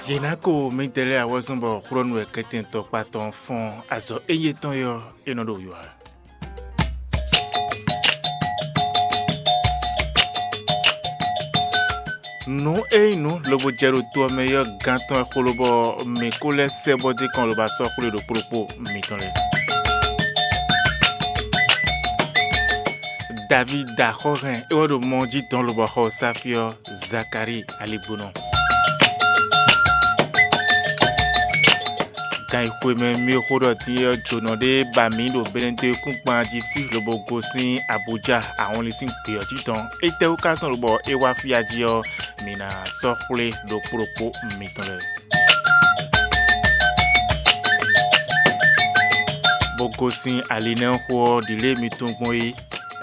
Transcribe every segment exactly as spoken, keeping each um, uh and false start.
Yě ná ko mǐdɛɛ lɛ́ɛ awɔ́zɔ́n bɔ xwlɔ́nu wɛ kɛntɛn tɔkpá tɔn fɔ́n azɔ̌ éyɛ́ tɔn é ɔ́, é nɔ ɖo yo ǎ. Nǔ e nyí nǔ lobo jɛ ɖo to ɔ́ mɛ é ɔ́, gán tɔn wɛ xo lobɔ mǐ kó lɛ́ sɛ́ bɔ dó kɔn lobo asɔ́ xwlé ɖokpó ɖokpó mitɔn lɛ́ɛ. Davída xɔ hɛn é wɛ ɖo mɔ jí dɔn lobɔ xɔ Sáfíɔ Zakalíi aligbónɔ. Gan e xwe mɛ mì xo ɖɔ din ɔ́ jǒnɔ ɖé ba mǐ ɖo Benedekúngban jí fí lobo gosín Abuja ahɔnlin sín gbě ɔ́ jí tɔn. Étɛ́wú ka zɔn lobɔ é wá fí a jí ɔ́, mǐ ná sɔ́ xwlé ɖokpó ɖokpó mitɔn lɛ́ɛ. Bó gosín ali nɛ́ xo ɔ́, ɖǐlée mi tunwun gbɔn é.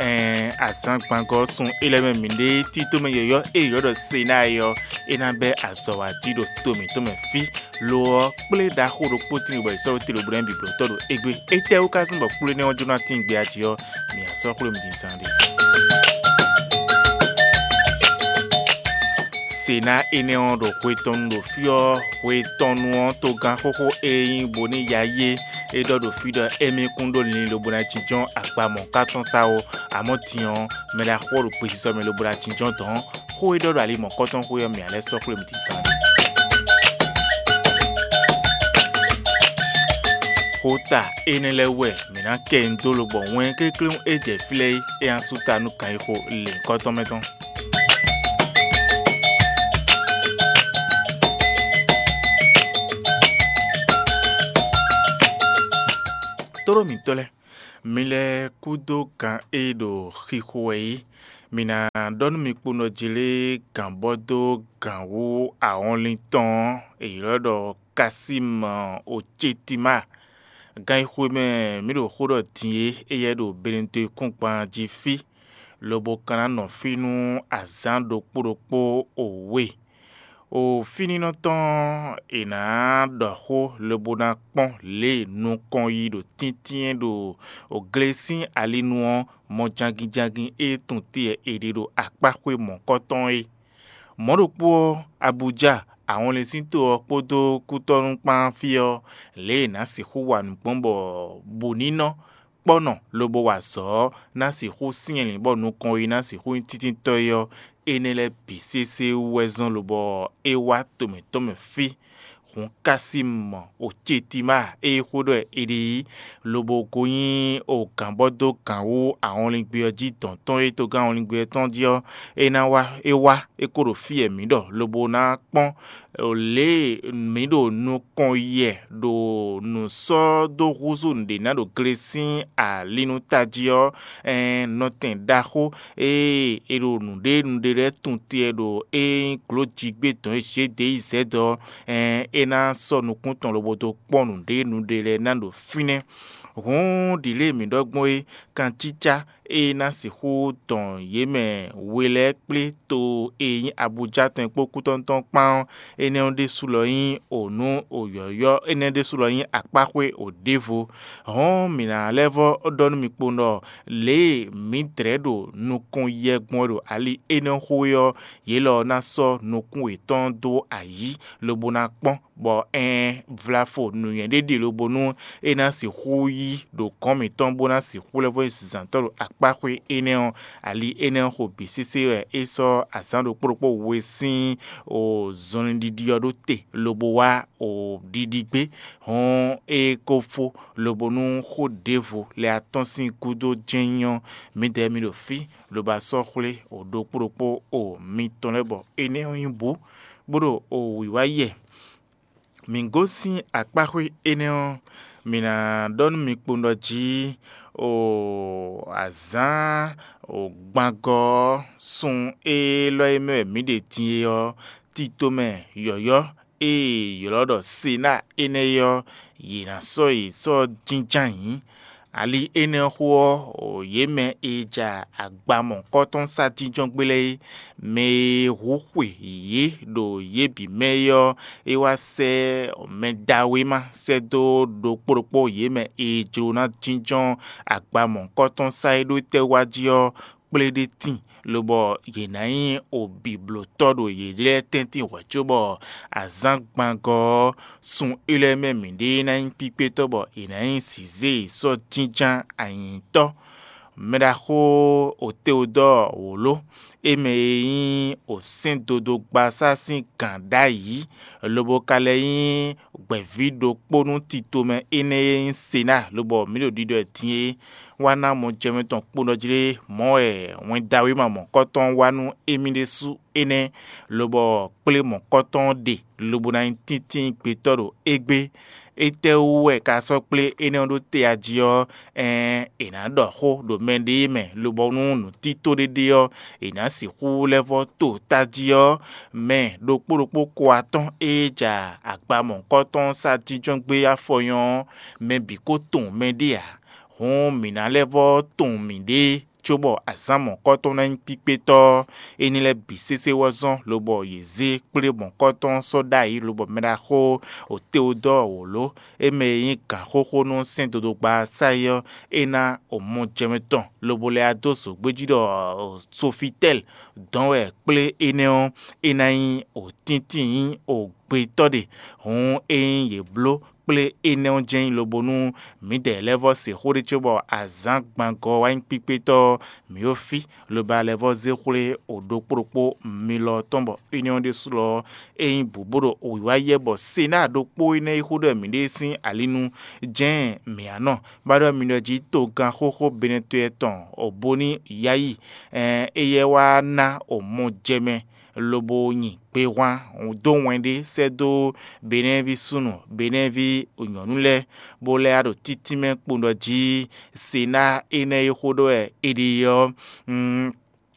Ɛɛn, azǎngbangɔ́ sun é lɛ́ɛ mɛ mǐɖée tító mɛ yɔ̌yɔ́ e yě ylɔ́ ɖɔ Senáa é ɔ́, é ná bɛ́ azɔ̌ wá jí ɖo to mǐtɔn mɛ fí. Lo ɔ́, kplé ɖaxó ɖokpó tíin bɔ è sɔ́ ɖó te lobo ná nyí bǐblɔ́tɔ́ ɖo égbé. Étɛ́wú ka zɔ́n bɔ kplé nɛ́ ɔ́ jló ná tíin gbé a jí ɔ́, mǐ ná sɔ́ xwlé mì din zán ɖé. Senáa énɛ́ ɔ́ ɖo xwe tɔn nu ɖo fí ɔ́, xwe tɔn nu ɔ́ togán xóxó e nyí Boniyayé é ɖɔ ɖo fí ɖɔ émí kún ɖó linlin lobo ná jínjɔ́n agba mɔ̌ ka tɔn sá ó, amɔ̌ din ɔ́, mɛ ɖaxó ɔ́ ɖo gbesisɔ mɛ lobo ná jínjɔ́n dɔ̌n. Xó e ɖɔ ɖo ali mɔ̌kɔ́tɔn xwé ɔ́, mǐ ná lɛ́ sɔ́ xwlé mì din zán. Xota énɛ́ lɛ́ɛ wɛ mǐ ná kɛ nyi dó lobɔ wɛn klékléwún e jɛ fí lɛ́ɛ é, é ná sú ta nú kan e xo lěhunkɔ́tɔn mɛ tɔn. Tóɖó mǐtɔn lɛ́ɛ, mi lɛ́ kúdó gǎn e ɖo xixo wɛ é. Mi ná ɖɔ nú mi kponɔ jí lé gǎn bɔ dó gǎn wú ahɔnlin tɔn ɔ́, è ylɔ́ ɖɔ Kasíma Océtima. Gan e xwe mɛ mǐ ɖo xó ɖɔ din é, éyɛ́ ɖo Benedekúngban jí fí, lobo ka ná nɔ fí nú azǎn ɖokpó ɖokpó o we. O fínínɔ tɔn ɔ́, è nǎ ɖɔ xó lobo ná kpɔ́n lě e nukɔn yi ɖo tíntín ɖo glesín alinu ɔ́, mɔ janginjangin e tunwun te wɛ è ɖe ɖo akpáxwé mɔ̌kɔ́tɔn é. Mɔ̌ ɖokpó ɔ́, Abuja, ahɔnlin sín to ɔ́ kpódó kútɔ́nú kpán fí ɔ́, lě e è nǎ sixú wa nǔ gbɔn bɔ bǔ ní nɔ kpɔ́ nɔ lobo wa azɔ̌ ɔ́, ná sixú syɛ́nlǐn bɔ nukɔn yi ná sixú nyí títíntɔ́ é ɔ́, énɛ́ lɛ́ɛ bǐ sésé wú wɛ zɔ́n lobɔ é wá to mǐtɔn mɛ fí. Hǔn Kasímu Océtima e xó ɖɔ è ɖe yí, lobo ko nyí ogǎnbɔ́dógǎn wú ahɔnlingbe ɔ́ jí dɔ̌n tɔn e togán ahɔnlingbe ɔ́ tɔn jí ɔ́, é ná wá é wá é ko ɖo fí e mǐ ɖɔ lobo ná kpɔ́n lě e mǐ ɖo nukɔn yɛ ɖo nǔ sɔ́ dó húzú nǔɖé ná ɖo gle sín ali nú tají ɔ́, ɛɛn, nɔtɛn ɖaxó e è ɖo nǔɖé nǔɖé lɛ́ɛ tunwun te wɛ ɖo é nyí glǒjigbé dɔn e Zedeyizɛ́d ɔ́, ɛɛn, é ná sɔ́ nukún tɔn lobo dó kpɔ́n nǔɖé nǔɖé lɛ́ɛ ná ɖo fínɛ́. Hǔn ɖǐlée mǐ ɖɔ gbɔn é, kancícá e ná sixú dɔn yě mɛ we lɛ́ɛ kplé to e nyí Abujá tɔn e kpó kútɔ́nú tɔn kpán ɔ́, énɛ́ ɔ́ ɖésú lɔ nyí o nǔ o yɔ̌yɔ́, énɛ́ ɖésú lɔ nyí akpáxwé o ɖěvo. Hɔ̌n mǐ ná lɛ́ vɔ́ ɖɔ nú mi kpowun ɖɔ lě e mǐ dlɛ̌ ɖo nukɔn yɛ gbɔn wɛ ɖo ali énɛ́ xo é ɔ́, yě lɔ ná sɔ́ nukún yětɔn dó ayǐ lobo ná kpɔ́n, bɔ ɛɛn, vlafo nǔnywɛ́ ɖé ɖe lobo nú é ná sixú yí ɖo gɔ̌n mǐtɔn bó ná sixú lɛ́ vɔ́ nyí zǎntɔ́ ɖo akpáxwé énɛ́ ɔ́. Ali énɛ́ ɔ́ xo bǐ sésé wɛ é sɔ́ azǎn ɖokpó ɖokpó we sín o zɔnlin ɖiɖi ɔ́ ɖó te lobo wá o ɖiɖi gbé. Hɔn é ko fó lobo nú xó ɖěvo lɛ́ɛ atɔ́n sín gúdo jɛ́n nyí ɔ́, mǐdɛɛ mi ɖo fí lobo asɔ́ xwlé o ɖokpó ɖokpó o mitɔn lɛ́ɛ bɔ énɛ́ ɔ́ nyí bǔ, bó ɖo o wǐwá yɛ. Mǐ gosín akpáxwé énɛ́ ɔ́, mǐ ná ɖɔ nú mi kpowun ɖɔ jí o azǎn o gbangɔ ɔ́, sun élɔ́ e mɛ wɛ mǐ ɖe din é ɔ́, tito mɛ yɔ̌yɔ́ e è ylɔ́ ɖɔ Senáa énɛ́ é ɔ́, yě ná sɔ́ yě sɔ́ jínjɔ́n ayǐ. Ali énɛ́ ɔ́ xo ɔ́, yě mɛ e ja agba mɔ̌hunkɔtɔn sá jínjɔ́n gbé lɛ́ɛ é, mɛ e hu xwe yě ɖo yě bǐ mɛ é ɔ́, é wá sɛ́ mɛ dawéma sɛ́ dó ɖokpó ɖokpó yě mɛ e jló ná jínjɔ́n agba mɔ̌hunkɔtɔn sá é ɖó tɛ́ wá jí ɔ́, kplé ɖé tíin, lobɔ yě ná nyí obiblotɔ́ ɖo yě lɛ́ɛ tɛ́ntin hwɛ̌ cóbɔ azǎngbangɔ ɔ́, sun é lɛ́ɛ mɛ mǐɖée ná nyí kpíkpétɔ́ bɔ è nǎ nyí zǐzé e sɔ́ jínján anyǐtɔ́. Mɛɖaxó Oteodɔ́ɔ wǒ ló, é mɛ e nyí osɛ́ndodogbaṣá sín gǎn ɖ'ayǐ, lobo ka lɛ́ nyí gbɛ̌ví ɖokpó nú titomɛ énɛ́ e nyí Senáa, lobɔ mǐ ɖo ɖiɖɔ ɛ din é, wá ná mɔjɛmɛ tɔn kpo nɔ jlé mɔ̌ wɛ wɛndawéma mɔ̌kɔtɔn wá nú émí ɖésú énɛ́, lobɔ kplé mɔ̌kɔtɔn ɔ́ ɖe lobo ná nyí tíntín gbetɔ́ ɖo égbé. Étɛ́wú wɛ ka sɔ́ kplé énɛ́ ɔ́ ɖó te a jí ɔ́, ɛɛn, è nǎ ɖɔ xó ɖo mɛɖée mɛ, lobɔ nú nǔtító ɖé ɖe ɔ́, è nǎ sixú lɛ́ vɔ́ to tají ɔ́, mɛ ɖokpó ɖokpó ko atɔ́n e ja agba mɔ̌hunkɔtɔn sá jínjɔ́n gbé afɔ nyɔ́ ɔ́, mɛ bǐ ko tunwun mɛɖée ǎ. Hǔn mǐ ná lɛ́ vɔ́ tunwun mǐɖée, cóbɔ azǎn mɔ̌hunkɔtɔn ná nyí kpíkpétɔ́ ɔ́, é ní lɛ́ bǐ sésé wɛ zɔ́n, lobɔ yě zé kplé mɔ̌hunkɔtɔn sɔ́ ɖ'ayǐ, lobɔ mɛɖaxó Oteodɔ́ɔ wǒ ló, é mɛ e nyí gǎnxóxó nú sɛ́ndodogba ɔ́ sá é ɔ́, é ná omɔjɛmɛ tɔn lobo lɛ́ wá dó zǒgbéjí ɖɔ Sofitɛ́li dɔn wɛ kplé énɛ́ ɔ́, é ná nyí òtíntín nyí ògbetɔ́ ɖe. Hǔn ényí yě bló kplé énɛ́ ɔ́ jɛ́n nyí lobo nú mǐdɛɛ lɛ́ɛ vɔ́ se xó ɖé cóbɔ azǎn gbangɔ wá nyí kpíkpétɔ́ ɔ́, mǐ ɖo fí, lobo a lɛ́ vɔ́ zé xwlé o ɖokpó ɖokpó mi lɔ tɔn bɔ énɛ́ ɔ́ ɖésú lɔ ɔ́, é nyí bǔ bó ɖo wǐwá yɛ bɔ Senáa ɖokpó énɛ́ e xó ɖɔ mǐɖée sín ali nu jɛ́n mǐ á nɔ. Bá ɖɔ mi ɖɔ jí togán xóxó Benɛtɔ́ tɔn Oboníyayi, éyɛ́ wá ná omɔjɛmɛ lobo nyi gbehwan dó wɛn ɖé sɛ́ dó Benɛ́ɛví súnnu, Benɛ́ɛví nyɔ̌nu lɛ́ɛ, bó lɛ́ wá ɖo títínmɛ kpowun ɖɔ jí Senáa énɛ́ e xó ɖɔ wɛ è ɖe ɔ́,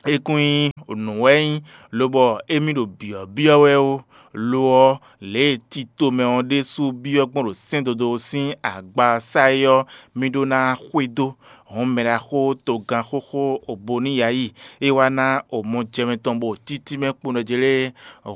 é kún nyí nǔ wɛ é nyí, lobɔ émí ɖo byɔ̌byɔ́ wɛ ó. Lo ɔ́, lě e tito mɛ ɔ́ ɖésú byɔ́ gbɔn ɖo sɛ́ndodó sín agba sá é ɔ́, mì ɖó ná xwedó. Hɔn mɛɖaxó togán xóxó Oboniyayi, é wá ná omɔjɛmɛ tɔn bɔ títí mɛ kpowun ɖɔ jɛ lɛ́ɛ,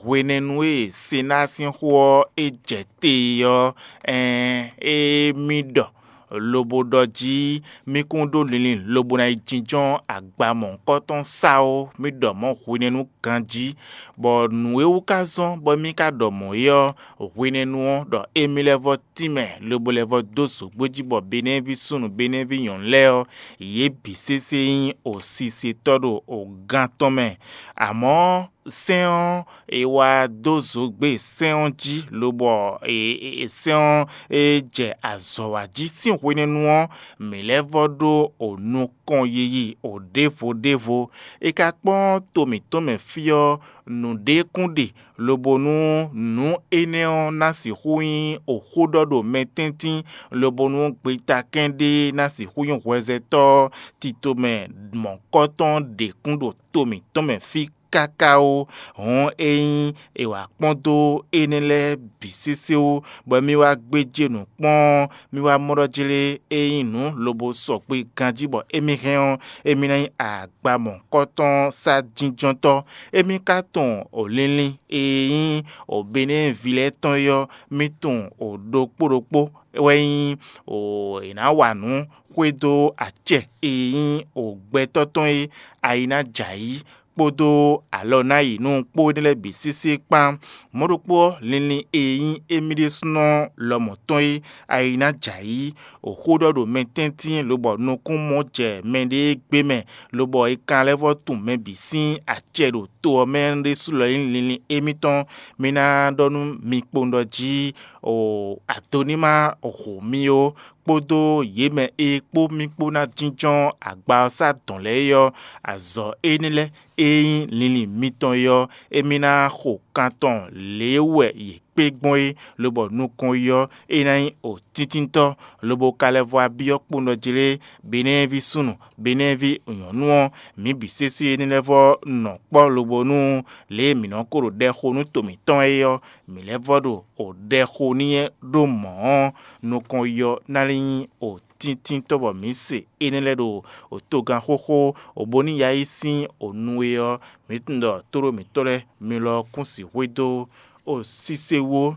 hwenɛ́nu e Senáa sín xó ɔ́ é jɛ te é ɔ́, ɛɛn, é mì ɖɔ lobo ɖɔ jí mì kún ɖó linlin lobo ná yi jínjɔ́n agba mɔ̌hunkɔtɔn sá ó, mì ɖɔ mɔ̌ hwenɛ́nu ganjí, bɔ nǔ e wú ka zɔ́n bɔ mì ka ɖɔ mɔ̌ é ɔ́, hwenɛ́nu ɔ́ ɖɔ émí lɛ́ vɔ́ tínmɛ lobo lɛ́ vɔ́ dó zǒgbó jí bɔ Benɛ́ɛví súnnu Benɛ́ɛví nyɔ̌nu lɛ́ɛ ɔ́, yě bǐ sésé nyí osisetɔ́ ɖo ogán tɔn mɛ. Amɔ̌ sɛ́n ɔ́, è wá dó zǒgbé sɛ́n ɔ́ jí, lobɔ sɛ́n ɔ́ e jɛ azɔ̌ wa jí sín hwenɛ́nu ɔ́, mǐ lɛ́ vɔ́ ɖó o nukɔn yiyi o ɖěvo ɖěvo. È ka kpɔ́n to mǐtɔn mɛ fí ɔ́, nǔɖé kún ɖe, lobo nú nǔ énɛ́ ɔ́ ná sixú nyí oxó ɖɔ ɖo mɛ tɛ́ntin, lobo nú gbetakɛ́n ɖé ná sixú nyí hwɛzɛtɔ́ titomɛ mɔ̌kɔtɔn ɖě kún ɖo to mǐtɔn mɛ fí káká ó. Hɔn ényí è wǎ kpɔ́n dó énɛ́ lɛ́ɛ bǐ sésé ó, bɔ mì wá gbéjé nǔ kpɔ́n, mì wá mɔ ɖɔ jlé ényí nǔ lobo sɔgbe ganjí bɔ émí hɛn ɔ́, émí ná nyí agba mɔ̌hunkɔtɔn sá jínjɔ́ntɔ́. Émí ka tunwun o linlin e nyí o Benɛ́ɛví lɛ́ɛ tɔn é ɔ́, mì tunwun o ɖokpó ɖokpó wɛ nyí o è nǎ wa nǔ xwedó acɛ e nyí o gbɛtɔ́ tɔn e ayi ná jɛ ayǐ kpódó alɔ ná yi nú kpó énɛ́ lɛ́ɛ bǐ sésé kpán. Mɔ̌ ɖokpó ɔ́, linlin e nyí émí ɖésúnɔ lɔmɔ̌ tɔn e ayi ná jɛ ayǐ, o xó ɖɔ ɖo mɛ tɛ́ntin lobɔ nukún mɔ jɛ mɛɖée gbé mɛ, lobɔ è kan lɛ́ vɔ́ tunwun mɛ bǐ sín acɛ ɖo to ɔ́ mɛ ɖésú lɔ nyí linlin émítɔn. Mi ná ɖɔ nú mi kpowun ɖɔ jí o Adoníma hu mi ó, kpódó yě mɛ e kpó mì kpó ná jínjɔ́n agba ɔ́ sá dɔ̌n lɛ́ɛ é ɔ́, azɔ̌ énɛ́ lɛ́ɛ e nyí linlin mitɔn é ɔ́, émí ná xo kan tɔn lě wɛ yě kpé gbɔn é, lobɔ nukɔn yi ɔ́, é ná nyí o tíntíntɔ́, lobo ka lɛ́ vɔ abyɔ́ kpowun ɖɔ jlé Benɛ́ɛví súnnu, Benɛ́ɛví nyɔ̌nu ɔ́, mǐ bǐ sésé ní lɛ́ vɔ́ nɔ kpɔ́ lobo nú lě e mǐ nɔ ko ɖo ɖɛ xo nú to mǐtɔn é ɔ́, mǐ lɛ́ vɔ́ ɖo o ɖɛ xo n'i ɖó mɔ̌ ɔ́, nukɔn yi ɔ́ ná lɛ́ nyí o tíntíntɔ́ bɔ mǐ se énɛ́ lɛ́ɛ ɖo o togán xóxó, o bó ní ya yí sín o nu é ɔ́, mǐ tunwun ɖɔ tóɖó mǐtɔn lɛ́ɛ mi lɔ kún sixwé dó o sísé wú ó.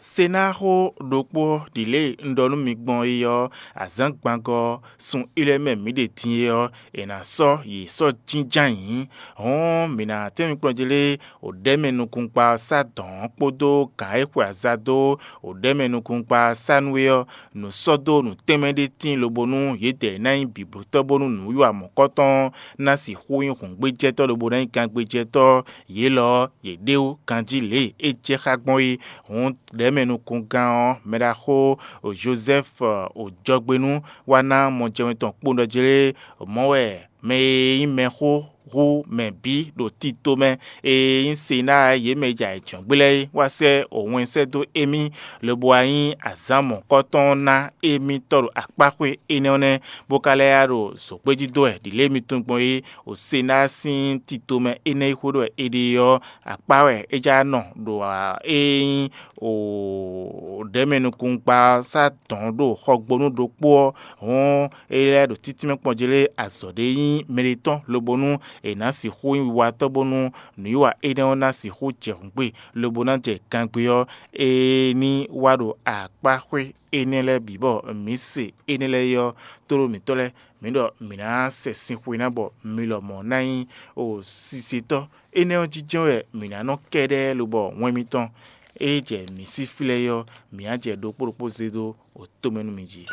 Senáxó ɖokpó ɔ́ ɖi lě e un ɖɔ nú mi gbɔn é ɔ́, azǎngbangɔ ɔ́, sun ilɛ́ mɛ mǐ ɖe din é ɔ́, è nǎ sɔ́ yě sɔ́ jínjɔ́n ayǐ. Hɔ̌n mǐ ná tɛ́n mi kplɔ́n jí lé, wǒ ɖɛ́ mɛ nukúnkpa ɔ́ sá dɔ̌n ɔ́ kpódó gǎn e xwe aza dó wǒ ɖɛ́ mɛ nukúnkpa ɔ́ sá nú é ɔ́, nǔ sɔ́ dó nǔ tɛnmɛ ɖé tíin lobo nú yědɛɛ ná nyí bǐblótɔ́ bónú nǔwiwa mɔ̌kɔtɔn ɔ́ ná sixú nyí hǔngbéjɛtɔ́ lobo ná nyí gangbéjɛtɔ́. Yě lɔ ɔ́, yě ɖe wú ganjí lě e é jɛ xá gbɔn é. Hǔn ɖɛ̌mɛnukúngán ɔ́, mɛɖaxó Jozɛ́fu jɔgbenú wá ná mɔjɛwɛn tɔn kpowun ɖɔ jlé mɔ̌ wɛ mɛ e nyí mɛxó hú mɛ bǐ ɖo tito mɛ e nyí Senáa yě mɛ e jɛ ayǐjɔ́ngbe lɛ́ɛ é wá sɛ́ wɛn sɛ́ dó émí, lobo wá nyí azǎn mɔ̌kɔtɔn ná émítɔ́ ɖo akpáxwé énɛ́ ɔ́ nɛ́, bó ka lɛ́ yá ɖo zǒgbéjí dó wɛ ɖi lě e mi tunwun gbɔn é. Ɖo Senáa sín tito mɛ énɛ́ e xwé ɖɔ wɛ è ɖe ɔ́, akpá wɛ é já nɔ ɖo ée nyí ɖɛ̌mɛnukúngban sá dɔ̌n ɖo xɔgbónú ɖokpó ɔ́, hɔn é lɛ́ ɖo títínmɛ kpɔ́n jí lé azɔ̌ ɖé nyí mɛɖetɔ́, lobo nú è nǎ sixú nyí wiwatɔ́ bónú nǔwiwa énɛ́ ɔ́ ná sixú jɛ hǔngbe, lobo ná jɛ gangbé ɔ́, é ní wá ɖo akpáxwé énɛ́ lɛ́ɛ bǐ bɔ mǐ se énɛ́ lɛ́ɛ é ɔ́, tlóló mǐtɔn lɛ́ɛ, mǐ ɖɔ mǐ ná sɛ sin xwe ná bɔ mi lɔmɔ̌ ná nyí o sisetɔ́. Énɛ́ ɔ́ jínjɔ́n wɛ mǐ ná nɔ kɛ́ɖɛ́ lobɔ wɛn mitɔn e jɛ mǐ sín flɛ́ é ɔ́, mǐ á jɛ ɖokpó ɖokpó zé dó o tomɛ nú mi jí.